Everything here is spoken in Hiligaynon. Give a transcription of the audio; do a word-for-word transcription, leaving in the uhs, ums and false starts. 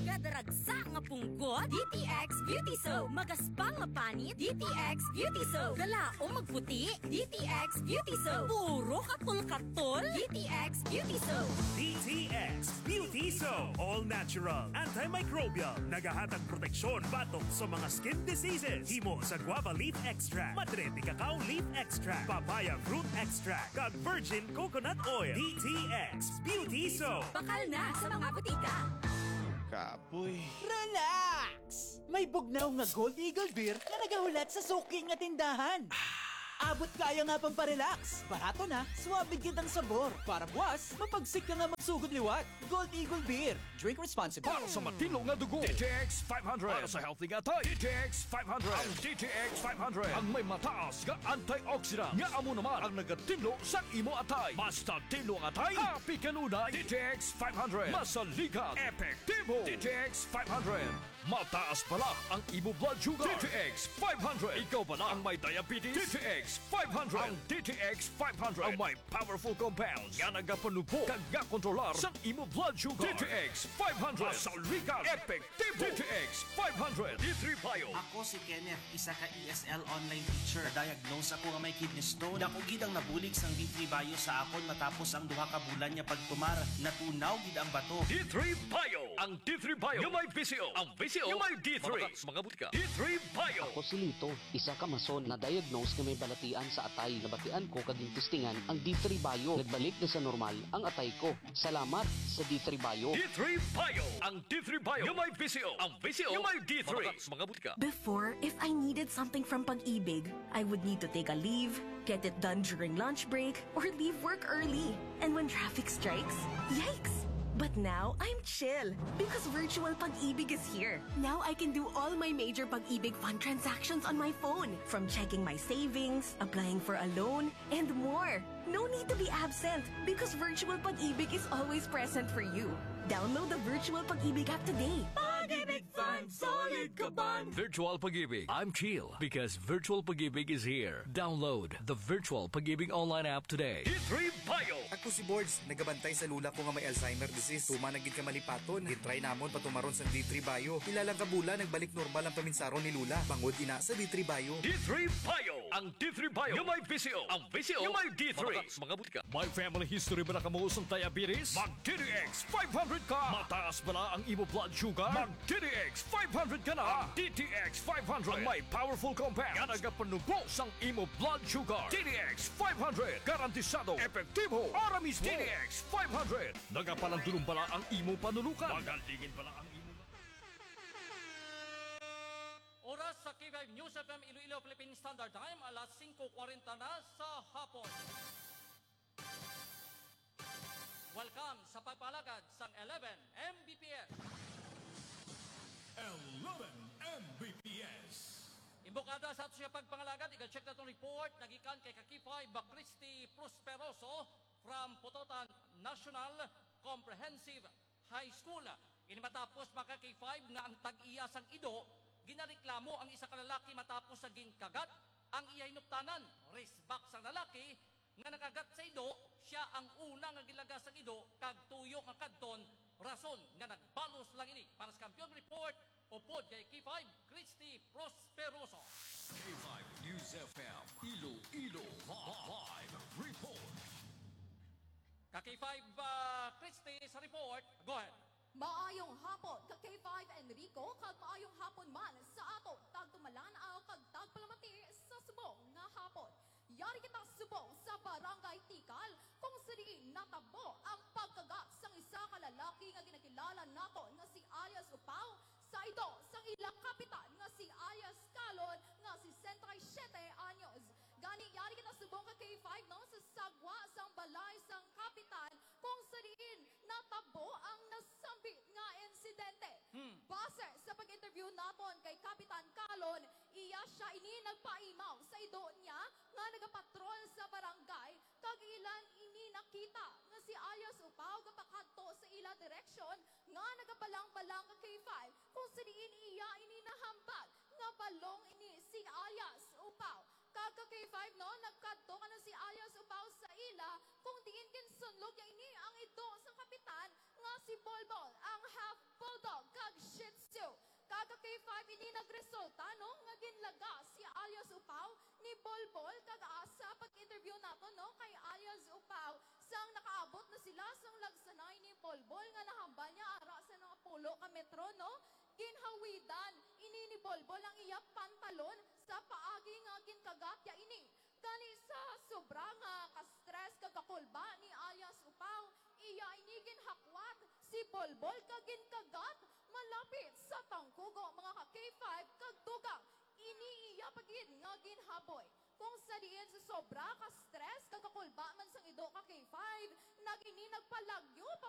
Nadaragsa nga punggot, D T X Beauty Soap. Magaspang nga panit, D T X Beauty Soap. Galaom magputi, D T X Beauty Soap. Puro katol-katol, D T X Beauty Soap. D T X Beauty Soap. All natural, antimicrobial. Nagahatag proteksyon batok sa mga skin diseases. Himo sa guava leaf extract, madre de cacao leaf extract, papaya fruit extract, kag virgin coconut oil. D T X Beauty Soap. Bakal na sa mga butika. Kapoy. Relax! May bugnaw nga Gold Eagle Beer nga nagahulat sa suki nga tindahan. Abot kaya nga pamparelax. Barato na, suabe gid ang sabor. Para buwas, mapagsik ka nga magsugod liwat. Gold Eagle Beer. Drink responsibly. Para sa matinlo nga dugo, D T X five hundred. Para sa healthy nga atay, D T X five hundred. Ang D T X five hundred ang may mataas nga antioxidant nga amo naman ang nagatinlo sang imo atay. Basta tinlo ang atay, happy kanunay. D T X five hundred. Masaligan, epektibo. D T X five hundred. Mataas bala ang imo blood sugar. D T X five hundred. Ikaw bala ang may diabetes? D T X five hundred. Ang D T X five hundred ang may powerful compounds nga nagapanubo kag gakontrolar sang imo blood sugar. D T X five hundred. Masaligan, epektibo. D T X five hundred. D three Bio. Ako si Kenneth, isa ka E S L online teacher. Diagnose ako nga may kidney stone. Dako gid ang nabulig sang D three Bio sa akon matapos ang duha ka bulan nga pagtumar. Natunaw gid ang bato. D three Bio. Ang D three Bio nga may V C O. Ang V C O nga may D three. Mga butika. D three Bio. Ako si Lito, isa ka mason na diagnose nga may balatian sa atay. Nabatian ko kag gintistingan ang D three Bio. Nagbalik na sa normal ang atay ko. Salamat sa D three Bio. D three Bio. Ang D three Bio nga may V C O. Ang V C O nga may D three. Mga butika. Before, if I needed something from Pag-ibig, I would need to take a leave, get it done during lunch break, or leave work early. And when traffic strikes, yikes! But now, I'm chill because Virtual Pag-ibig is here. Now I can do all my major Pag-ibig Fund transactions on my phone, from checking my savings, applying for a loan, and more. No need to be absent because Virtual Pag-ibig is always present for you. Download the Virtual Pag-ibig app today. Pag-ibig Fund, solid kaban. Virtual Pag-ibig. I'm chill because Virtual Pag-ibig is here. Download the Virtual Pag-ibig online app today. D three Bio. Ako si Bords, nagabantay sa lula ko nga may Alzheimer disease. Tuman na gid ka malipaton. Gintry namon patumaron sang D three Bio. Pila lang ka bulan, nagbalik normal ang paminsaron ni Lula. Bangod ina sa D three Bio. D three Bio. Ang D three Bio nga may V C O. Ang V C O nga may D three. Mga, mga butika. May family history ba na kamo sang diabetes? Mag D T X five hundred ka. Mataas bala ang imo blood sugar? Mag D T X five hundred ka na. Ang D T X five hundred ang may powerful compound nga nagapanubo sang imo blood sugar. D T X five hundred, garantisado, epektibo, ara mismo. D T X five hundred. Nagapalandulong bala ang imo panulukan? Magalingin bala ang imo mata? Oras sa K five News F M Iloilo Philippine Standard Time, alas singko kwarenta na sa hapon. Welcome sa pagpangalagad sang eleven M B P S. Eleven M B P S. Imbokada sa ato siya pagpangalagad, iga-check naton report, nagikan kay ka K five, Christy Prosperoso from Pototan National Comprehensive High School. Ini matapos, mga ka K five, nga ang tag-iya sang ido ginareklamo ang isa ka lalaki matapos sa ginkagat ang iya hinuptanan. Resbak sang lalaki nga nakagat sa ido, siya ang una nga gilagas sang ido kag tuyo nga kadton, rason nga nagbalos lang ini. Para sa Kampiyon Report, upod kay K five, Christy Prosperoso. K five News F M, Iloilo Live Report. Ka K five, ah, Christy sa report. Go ahead. Maayong hapon, ka K five Enrico, kag maayong hapon man sa ato tagtumalan-aw kag tagpalamati sa subong nga hapon. Yari kita subong sa Barangay Tikal, kung sa diin natabo ang pagkagat sang isa ka lalaki nga ginakilala naton nga si alias Upaw sa ido sang ila kapitan nga si alias Kalon nga sesenta y siete anyos. Gani, yari kita subong ka K five, no, sa sagwa sang balay sang kapitan kung sa diin natabo ang nasambit nga insidente. Hmm. Base sa pag-interview naton kay Kapitan Kalon, iya sia ini nagpaimaw sa ido niya nga nagapatrol sa barangay, kag ila ini nakita nga si alias Upaw gapakadto sa ila direksyon nga nagabalang-balang ka K five, kung sa diin iya ini nahambal nga balong ini si alias Upaw. Kag ka K five, no, nagkadto ka na si alias Upaw sa ila, kung diin ginsunlog niya ini ang ido sang kapitan nga si Bolbol, ang half bulldog, kag five, ini nagresulta, no, nga ginlaga si alias Upaw ni Bolbol, kag asa pag-interview nato, no, kay alias Upaw, sang nakaabot na sila sang lagsanay ni Bolbol nga nahambal niya ara sa mga pulo ka metro, no, ginhawidan ini ni Bolbol ang iya pantalon sa paagi nga ginkagat ya ini. Gani sa sobra nga ka-stress kag kakulba ni alias Upaw, iya ini ginhakwat si Bolbol kag ginkagat malapit sa tangkugo, mga ka K five, kag dugang ini iya pa gid nga ginhaboy. Kung sa diin sa sobra ka stress kag kakulba man sang ido ka K five, nag-, ini nagpalagyo pa